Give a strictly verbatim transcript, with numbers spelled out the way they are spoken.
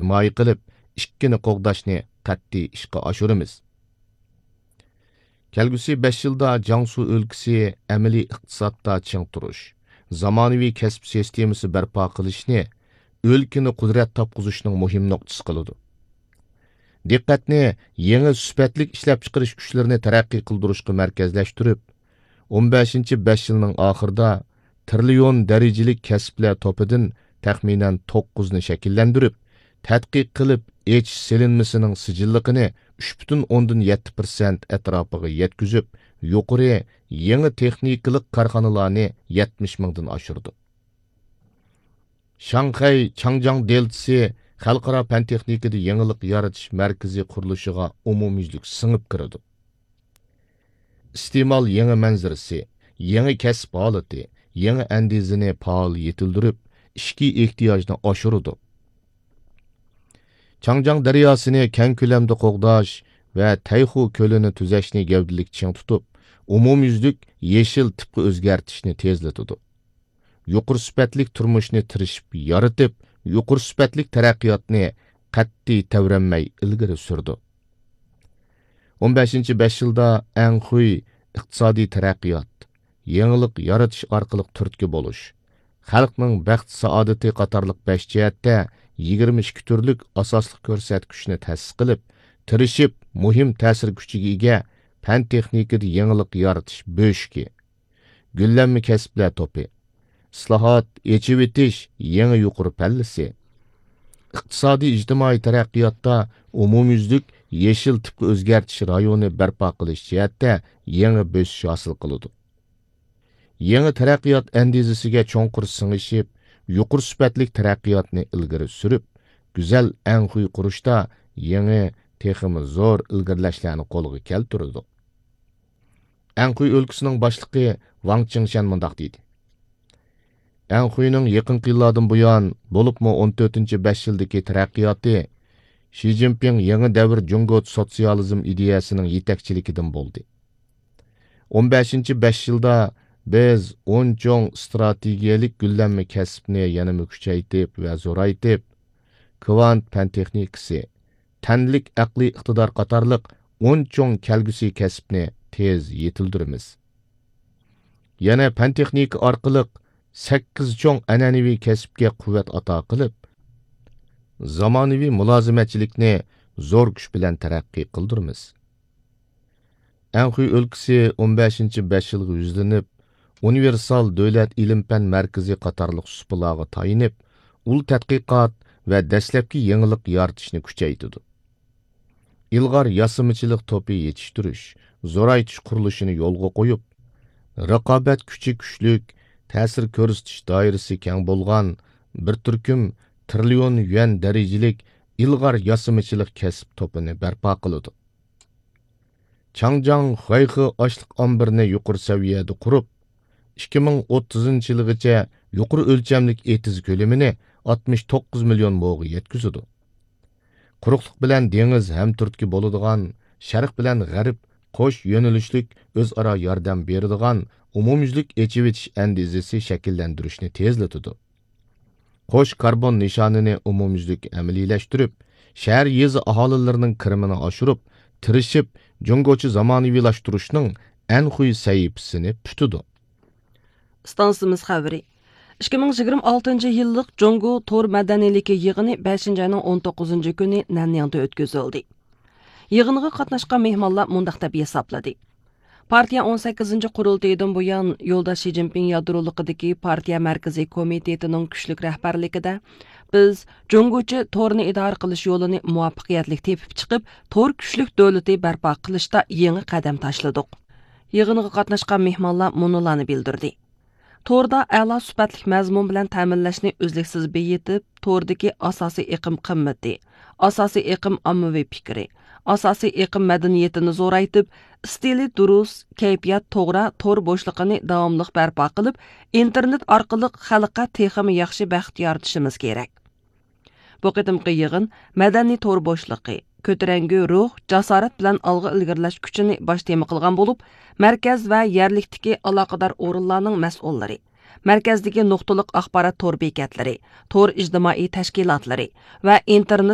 ھىمايە قىلىپ، ئىككىنى قوغداشنى قەتئىي ئىشقا ئاشۇرىمىز. كەلگۈسى بەش يىلدا جياڭسۇ ئۆلكىسى ئەمەلىي ئىقتىسادتا چىڭ تۇرۇش، زامانىۋى كەسىپ سىستېمىسى بەرپا قىلىشنى ئۆلكىنى قۇدرەت تاپقۇزۇشنىڭ مۇھىم نۇقتىسى قىلىدۇ. دىققەتنى يېڭى سۈپەتلىك ئىشلەپچىقىرىش كۈچلىرىنى تەرەققىي قىلدۇرۇشقا مەركەزلەشتۈرۈپ، ئون بەشىنچى بەش يىلنىڭ ئاخىرىدا تىرىليون دەرىجىلىك كەسىپلەر توپىدىن تەخمىنەن توققۇزنى شەكىللەندۈرۈپ، تەتقىق قىلىپ ئېچىش سېلىنمىسىنىڭ سىجىللىقىنى ئۈچ پۈتۈن ئوندىن يەتتە پىرسەنت ئەتراپىغا يەتكۈزۈپ، يۇقىرى يېڭى تېخنىكىلىق كارخانىلارنى يەتمىش مىڭدىن ئاشۇرىدۇ. شاڭخەي چاڭجياڭ دېلتىسى خەلقئارا پەن تېخنىكىدا يېڭىلىق يارىتىش مەركىزى قۇرۇلۇشىغا ئومۇميۈزلۈك سىڭىپ كىرىدۇ. ئىستېمال يېڭى مەنزىرىسى، يېڭى كەسىپ ھالىتى، يېڭى ئەندىزىنى پائال يېتىلدۈرۈپ، ئىچكى ئېھتىياجنى ئاشۇرىدۇ. چاڭجياڭ دەرياسىنى كەڭ كۆلەمدە قوغداش ۋە تەيخۇ كۆلىنى تۈزەشنى گەۋدىلىك چىڭ تۇتۇپ، ئومۇميۈزلۈك يېشىل تىپقا ئۆزگەرتىشنى تېزلىتىدۇ. يۇقىرى سۈپەتلىك تۇرمۇشنى تىرىشىپ يارىتىپ، يۇقىرى سۈپەتلىك تەرەققىياتنى قەتئىي تەۋرەنمەي ئىلگىرى سۈرىدۇ. ئون بەشىنچى بەش يىلدا ئەنخۇي ئىقتىسادىي تەرەققىيات، يېڭىلىق يارىتىش ئارقىلىق تۈرتكە بولۇش، خەلقنىڭ بەخت-سائادىتى قاتارلىق بەش جەھەتتە يىگىرمە ئىككى تۈرلۈك ئاساسلىق كۆرسەتكۈچنى تەسىس قىلىپ، تىرىشىپ مۇھىم تەسىر كۈچىگە ئىگە پەن-تېخنىكىدا يېڭىلىق يارىتىش بۆشۈكى، گۈللەنمە كەسىپلەر توپى، ئىسلاھات، ئېچىۋېتىش يېڭى يۇقىرى پەللىسى، ئىقتىسادىي ئىجتىمائىي تەرەققىياتتا ئومۇميۈزلۈك يېشىل تىپقا ئۆزگەرتىش رايونى بەرپا قىلىش جەھەتتە يېڭى بۆسۈش ھاسىل قىلىدۇ. يېڭى تەرەققىيات ئەندىزىسىگە چوڭقۇر سىڭىشىپ، يۇقىرى سۈپەتلىك تەرەققىياتنى ئىلگىرى سۈرۈپ، گۈزەل ئەنخۇي قۇرۇشتا يېڭى، تېخىمۇ زور ئىلگىرىلەشلەرنى قولغا كەلتۈرىدۇ. ئەنخۇي ئۆلكىسىنىڭ باشلىقى ۋاڭ چىڭشەن مۇنداق دېدى: ئەنخۇينىڭ يېقىنقى يىللاردىن بۇيان، بولۇپمۇ ئون تۆتىنچى بەش يىلدىكى تەرەققىياتى شى جىنپىڭ يېڭى دەۋر جۇڭگو سوتسىيالىزم ئىدىيەسىنىڭ يېتەكچىلىكىدىن بولدى. ئون بەشىنچى بەش يىلدا بىز ئون چوڭ ئىستراتېگىيەلىك گۈللەنمە كەسىپنى يەنىمۇ كۈچەيتىپ ۋە زورايتىپ، كۋانت پەن تېخنىكىسى، تەنلىك ئەقلىي ئىقتىدار قاتارلىق ئون چوڭ كەلگۈسى كەسىپنى تېز يېتىلدۈرىمىز. يەنە پەن تېخنىكا ئارقىلىق سەككىز چوڭ ئەنئەنىۋى كەسىپكە قۇۋۋەت ئاتا قىلىپ، زامانىۋى مۇلازىمەتچىلىكنى زور كۈچ بىلەن تەرەققىي قىلدۇرىمىز. ئەنخۇي ئۆلكىسى ئون بەشىنچى بەش يىلغا يۈزلىنىپ، ئۇنىۋېرسال دۆلەت ئىلىم-پەن مەركىزى قاتارلىق سۇپىلارغا تايىنىپ، ئۇل تەتقىقات ۋە دەسلەپكى يېڭىلىق يارىتىشنى كۈچەيتىدۇ. ئىلغار ياسىمىچىلىق توپى يېتىشتۈرۈش، زورايتىش قۇرۇلۇشىنى يولغا قويۇپ، رىقابەت كۈچى كۈچلۈك، تەسىر كۆرسىتىش دائىرىسى كەڭ بولغان بىر تۈركۈم تىرىليون يۈەن دەرىجىلىك ئىلغار ياسىمىچىلىق كەسىپ توپىنى بەرپا قىلىدۇ. چاڭجياڭ خۇەيخې ئاشلىق ئامبىرىنى يۇقىرى سەۋىيەدە قۇرۇپ، ئىككى مىڭ ئوتتۇزىنچى يىلىغىچە يۇقىرى ئۆلچەملىك ئېتىز كۆلىمىنى ئاتمىش توققۇز مىليون موغا يەتكۈزىدۇ. قۇرۇقلۇق بىلەن دېڭىز ھەمتۈرتكە بولىدىغان، شەرق بىلەن غەرب قوش يۆنىلىشلىك ئۆزئارا ياردەم بېرىدىغان ئومۇميۈزلۈك ئېچىۋېتىش ئەندىزىسى شەكىللەندۈرۈشنى تېزلىتىدۇ. قوش كاربون نىشانىنى ئومۇميۈزلۈك ئەمەلىيلەشتۈرۈپ، شەھەر، يېزا ئاھالىلىرىنىڭ كىرىمىنى ئاشۇرۇپ، تىرىشىپ جۇڭگوچە زامانىۋىلاشتۇرۇشنىڭ ئەنخۇي سەھىپىسىنى پۈتىدۇ. ئىستانسىمىز خەۋىرى. ئىككى مىڭ يىگىرمە ئالتىنچى يىللىق جۇڭگو تور مەدەنىيلىكى يىغىنى بەشىنچى ئاينىڭ ئون توققۇزىنچى كۈنى نەنياڭدا ئۆتكۈزۈلدى. يىغىنغا قاتناشقان مېھمانلار مۇنداق دەپ ھېسابلىدى: پارتىيە ئون سەككىزىنچى قۇرۇلتىيىدىن بۇيان، يولداش شى جىنپىڭ يادرولۇقىدىكى پارتىيە مەركىزىي كومىتېتىنىڭ كۈچلۈك رەھبەرلىكىدە، بىز جۇڭگوچە تورنى ئىدارە قىلىش يولىنى مۇۋەپپەقىيەتلىك تېپىپ چىقىپ، تور كۈچلۈك دۆلىتى بەرپا قىلىشتا يېڭى قەدەم تاشلىدۇق. يىغىنغا قاتناشقان مېھمانلار مۇنۇلارنى بىلدۈردى: توردا ئەلا سۈپەتلىك مەزمۇن بىلەن تەمىنلەشنى ئۈزلۈكسىز بېيىتىپ، توردىكى ئاساسىي ئېقىم قىممىتى، ئاساسىي ئېقىم ئاممىۋى پىكرى، ئاساسىي ئېقىم مەدەنىيىتىنى زورايتىپ، ئىستىلى دۇرۇس، كەيپىيات توغرا تور بوشلۇقىنى داۋاملىق بەرپا قىلىپ، ئىنتېرنېت ئارقىلىق خەلققە تېخىمۇ ياخشى بەخت يارىتىشىمىز كېرەك. بۇ قېتىمقى يىغىن مەدەنىي تور بوشلۇقى، كۆتۈرەڭگۈ روھ، جاسارەت بىلەن ئالغا ئىلگىرىلەش كۈچىنى باش تېما قىلغان بولۇپ، مەركەز ۋە يەرلىكتىكى ئالاقىدار ئورۇنلارنىڭ مەسئۇللىرى، مەركەزدىكى نۇقتىلىق ئاخبارات تور بېكەتلىرى، تور ئىجتىمائىي تەشكىلاتلىرى ۋە ئىنتېرنېت